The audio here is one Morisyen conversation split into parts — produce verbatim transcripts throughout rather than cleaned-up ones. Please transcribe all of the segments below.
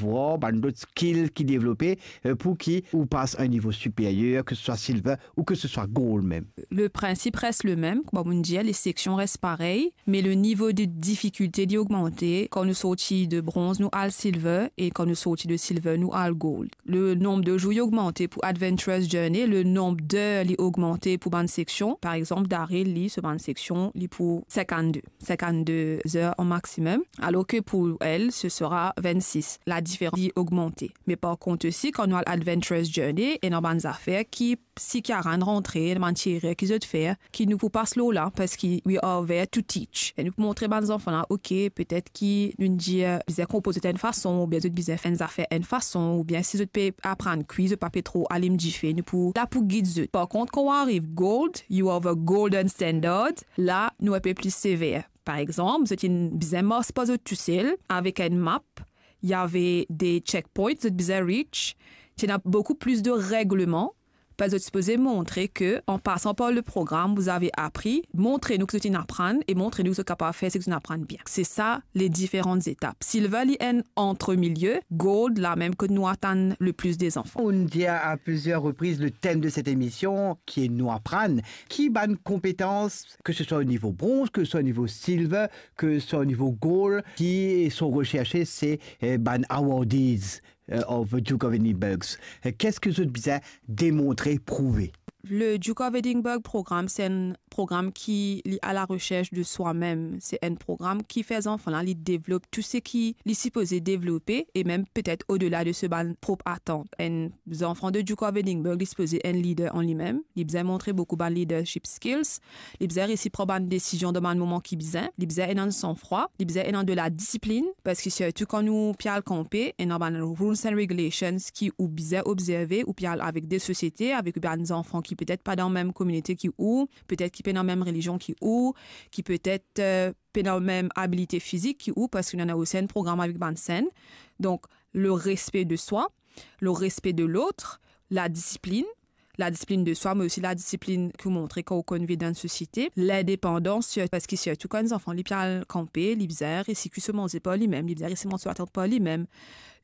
war bann lot skill ki devlope, eh, pou ki ou pas a enn nivo siperyer, ke se swa silver ou ke se swa gold mem. Le principe reste le même, kouma mo'nn dir, les sections restent pareilles, mais le niveau de difficulté li ogmante. Kan nou sorti de bronze, nou al silver, e kan nou sorti de silver, nou al gold. Le nombre de jours li ogmante pou Adventurous Journey, le nombre d'heures li ogmante pou bann seksion. Par exanp, Daryl, li, so bann seksion, li pou sinkannde, sinkannde zer an maximum, alors que pour elle, ce sera vingt-six. La diferans li ogmante. Me par kont osi, kan nou al Adventurous Journey, ena bann zafer ki si Karen rantre, bann ti erer ki zot fer, ki nou pou pas lor la, parski we are there to teach. E nou pou montre bann zanfan la, ok, petet ki nou dir, bizin konpoz zot enn fason, oubien zot bizin fer enn zafer enn fason, oubien si zot pe aprann kwi, zot pa pe tro alim dife, nou pou la pou gid zot. Par kont, kan ou ariv gold, you are the golden standard, la, nou enpe pli sever. Par exanp, zot inn bizin mars par zot tousel, avek enn map, y avait des checkpoints, zot bizin reach, ti ena boukou plis de regleman, parski zot sipoze montre ke, en passant par le programme, vous avez appris, montre nou ki zot inn aprann e montre nou ki zot kapav fer seki zot inn aprann bien. Se sa, les différentes étapes. Silver, li enn entre milieu, gold, la mem kot nou atann le plis de zanfan. On dit à, à plusieurs reprises le thème de cette émission, qui est Nou Aprann. Ki bann konpetans, ke se swa o nivo bronze, ke se swa o nivo silver, ke se swa o nivo gold, ki sont recherchés, se, eh, bann awardees, eh, of Duke of Edinburgh. Eh, ki sa ki zot bizin demontre, prouve? Le Duke of Edinburgh programme, se enn programm ki li à la recherche de soi-même. Se enn programm ki fer zanfan la, li devlop tou seki li sipoze devlope e mem petet odela de so bann prop atant. Enn zanfan de Duke of Edinburgh, li sipoze enn leader an limem. Li bizin montre boukou bann leadership skills. Li bizin resi pran bann desizion dan bann moman ki bizin. Li bizin ena sanfrwa. Li bizin ena de la disiplin. Parski sirtou kan nou pe al kanpe, ena bann rules and regulations ki ou bizin obzerve, ou pe al avek de sosiete, avek bann zanfan ki petet pa dan mem kominite ki ou, petet ki pena mem relizion ki ou, ki petet, eh, pena mem abilite fizik ki ou, parski nou ena osi enn programm avek bann senn. Donk, le respect de soi, le respect de l'autre, la discipline, la discipline de soi, me osi la disiplin ki ou montre kan ou konn viv dan enn sosiete, lindepandans, sir-, parski sirtou kan enn zanfan li pe al kanpe, li bizin resi kwi so manze par limem, li bizin resi mont so atant par limem,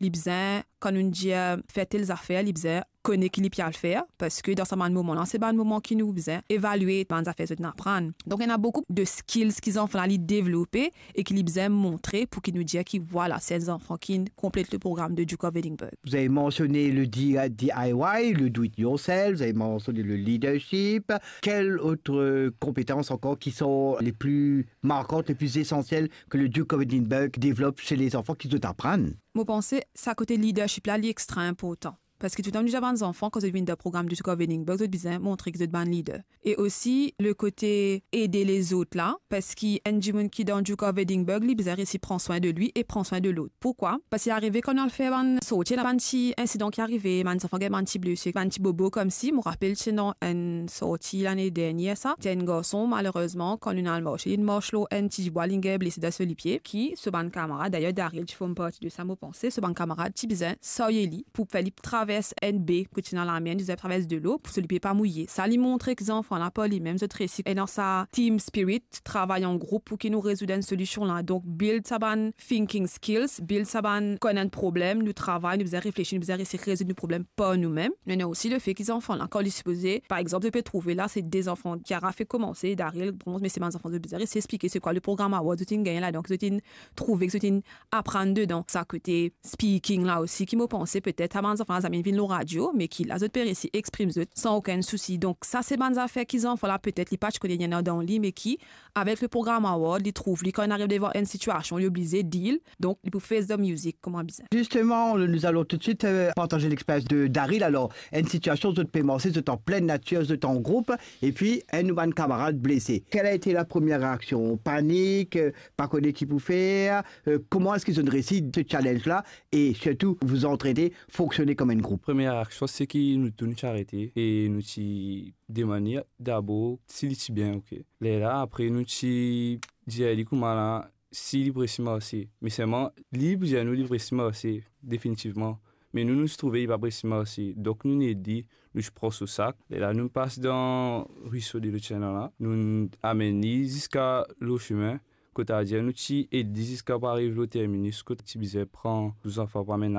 li bizin, kan nou dir, fer tel zafer, li bizin kone ki li pe al fer, parski dan sa bann moman la, se bann moman ki nou bizin evalie bann zafer zot inn aprann. Donk, ena boukou de skills ki zanfan la li devlope e ki li bizin montre pou ki nou dir ki, vwala, se enn zanfan ki konplet le programm de Duke of Edinburgh. Vous avez mentionné le D I Y, le do it yourself, vous avez mentionné le leadership. Quelles autres, euh, compétences encore qui sont les plus marquantes, les plus essentielles que le Duke of Edinburgh développe chez les enfants ki zot aprann? Mo panse sa kote leadership la, li extra inportan. Parski toultan nou dir bann zanfan, kan zot vinn dan programm de Duke of Edinburgh, zot bizin montre ki zot bann leader. E osi, le kote ede lezot la, parski enn dimoun ki dan Duke of Edinburgh, li bizin resi pran swin de li e pran swin de lot. Poukwa? Parski arive kan nou al fer bann sorti, ena bann ti insidan ki arive, bann zanfan gagn bann ti blese, bann ti bobo koumsa. Mo rapel ti ena enn sorti lane dernier sa. Ti enn garson, malerezman, kan nou al marse, li mars lor enn ti dibwa, li gagn blese dan so lipie, ki so bann kamarad, dayer Daryl ti form parti de sa, mo panse, so bann kamarad ti bizin sarye li pou fer li travers enn be kot ti ena lamer, li bizin travers delo pou so lipie pa mouye. Sa li montre ki zanfan la par limem, zot resi ena sa team spirit, travay an group pou ki nou rezoud enn solision la. Donk, build sa bann thinking skills, build sa bann konn enn problem, nou travay, nou bizin reflesi, nou bizin resi rezoud nou problem par noumem. Me ena osi le fe ki zanfan la, kan li sipoze, par exanp, zot pe trouve la, se de zanfan, Kiara fek koumanse, Daryl, bronze, me se bann zanfan, zot bizin resi explike se kwa le programme award zot inn gagne la, donk zot inn trouve ki zot inn aprann dedan. Sa kote speaking la osi, ki mo panse petet sa bann zanfan la zame vinn lor radio, me ki la zot pe resi exprim zot san okenn sousi. Donk sa se bann zafer ki zanfan la petet li pa ti kone ena dan li, me ki, avek le programme award, li trouv li kan li ariv devan enn sitiasion, li oblize deal, donk li pou face the music kouma bizin. Justement, nous allons tout de suite, euh, partager l'expérience de Daryl. Alors, enn sitiasion, zot pe marse, zot an plin natir, zot an group, epi enn nou bann kamarad blese. Quelle a été la première réaction? Panik, euh, pa kone ki pou fer, euh, kouma eski zot inn resi se challenge la, e sirtou vous entraider, fonctionner comme un groupe? Premie reaksion, se ki nou tou nou ti arete e nou ti demann li dabor si li ti bien, ok. Lerla, apre nou ti dir li kouma la, si li pe resi marse. Me selman, li pou dir nou li pe resi marse, definitivman. Me nou, nou ti trouve li pa pe resi marse. Donk nou inn ed li, nou ti pran so sak. Lerla nou pas dan riso de lot sime la, nou amenn li ziska lor sime, kote adir nou ti ed li ziska pou ariv lor terminus, kot ti bizin pran tou zanfan pou amenn